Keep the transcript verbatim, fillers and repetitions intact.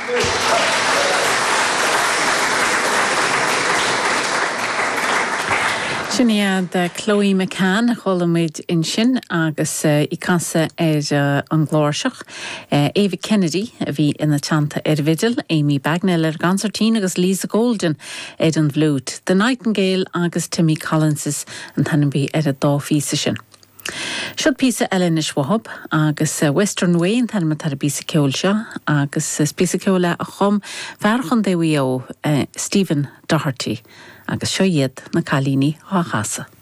Sin iad Chloe McCann a chuala muid ansin agus í ag casadh ar an gcláirseach. Ava Kennedy a bhí ina teannta ar bhfidil, Amy Bagnell ar an gconsairtín agus Lisa Golden ar an bhfliúit. The Nightingale agus Timmy Collins an t-ainm a bhí ar an dá phíosa sin. Seo píosa eile anois uathub agus Western Way an t-ainm atá ar an bpíosa ceoil seo agus is píosa ceoil a chum fear Chontae Mhaigh Eo Stephen Doherty agus seo iad na cailíní á chasadh.